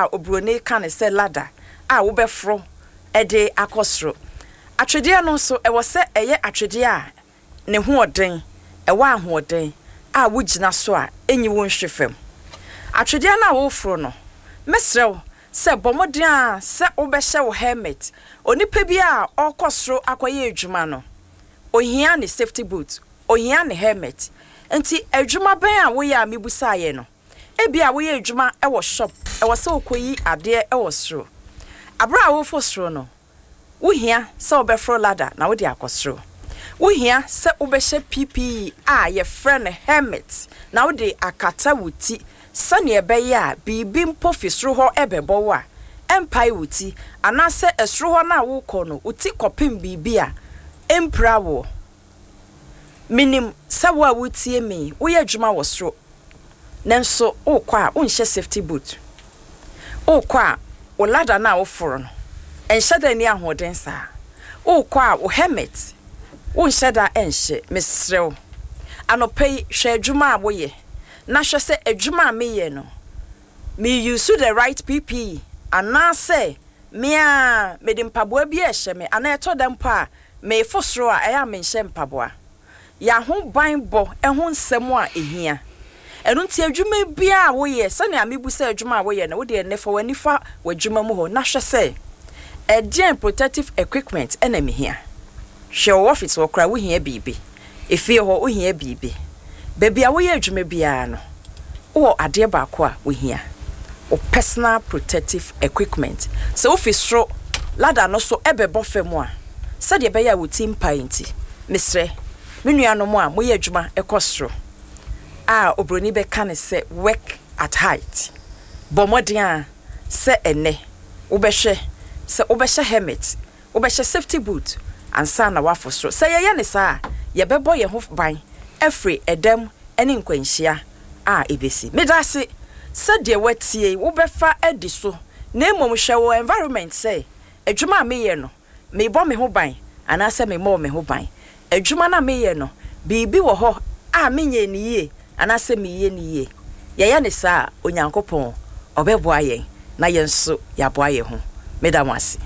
a oburoni ka no sɛ ladder a wobɛforo de akɔ soro. Atwedeɛ no nso, ɛwɔ sɛ ɛyɛ atwedeɛ a ne ho ɔden, ɛwɔ ahoɔden a wogyina so a enyi wo nhwe fam. Atwedeɛ no a woreforo no, mɛsrɛ wo sɛ bɔ mmɔden ara sɛ wobɛhyɛ wo helmet. Onipa biara a ɔrekɔ soro akɔyɛ adwuma no, ohia ne safety boot, ohia ne helmet. Enti adwuma bɛn a woyɛ a mebusaeɛ no, ebia woyɛ adwuma wɔ shop, ɛwɔ sɛ wokɔyi adeɛ wɔ soro. Berɛ a woreforo soro no, Wuhia sɛ wobɛforo ladder na wode akɔ soro. Wuhia sɛ wobɛhyɛ PPE a wɔfrɛ no helmet na wode akata wo ti sɛnea ɛbɛyɛ a biribi mpo fi soro hɔ rebɛbɔ wo a, ɛmpae wo ti, anaasɛ soro hɔ no a worekɔ no, wo ti kɔpem biribi a, ɛmpira wo. Minim sɛ wo a wuretie me yi, woyɛ adwuma wɔ soro, nanso worekɔ a, wonhyɛ safety boot. Worekɔ a, wo ladder no a woforo no, ɛnhyɛ da nni ahoɔden saa. Worekɔ a, wo helmet, wonhyɛ da nhyɛ. Mesrɛ wo, anɔpa yi, hwɛ adwuma a woyɛ, na hwɛ sɛ adwuma a meyɛ no, me use the right PPE anaasɛ me ara mede mpaboa bi rehyɛ me, anaa ɛtɔ da mpo a, Merefo soro a, ɛyɛ a menhyɛ mpaboa. Yɛ ahobanbɔ ho nsɛm a ehia. Ɛno nti adwuma biara a woyɛ, sɛnea mibu sɛ adwuma a woyɛ no, wo deɛ nnɛ fa w'ani fa w'adwuma mu hɔ na hwɛ sɛ ɛdeɛn protective equipment na mehia. Hwɛ wɔ office hɔ koraa wohia biribi. Efie hɔ wohia biribi. Baabi a woyɛ adwuma biara no, wowɔ adeɛ baako a wohia, wo personal protective equipment. Sɛ wofi soro ladder no so bɛbɔ fam a, sɛdeɛ ɛbɛyɛ a wo ti mpae nti, mesrɛ me nuanom a moyɛ adwuma kɔ soro a oburoni bɛka no sɛ work at height, bɔ mmɔden ara sɛ ɛnnɛ wobɛhwɛ sɛ wobɛhyɛ helmet Wobɛhyɛ safety boot ansa na woafo soro. Sɛ yɛyɛ no saa a, yɛbɛbɔ yɛn ho ban afiri ɛdam ne nkwanhyia a ɛbɛsi. Meda ase sɛ deɛ woatie yi wobɛfa adi so na mmom hwɛ wo environment sɛ adwuma a meyɛ no merebɔ me ho ban anaasɛ memmɔɔ me ho ban. Adwuma no a meyɛ no biribi wɔ hɔ a menyɛɛ no yie anaasɛ mereyɛ no yie. Yɛyɛ no saa a, Onyankopɔn ɔbɛboa yɛn na yɛn nso yɛaboa yɛn ho. Meda mo ase.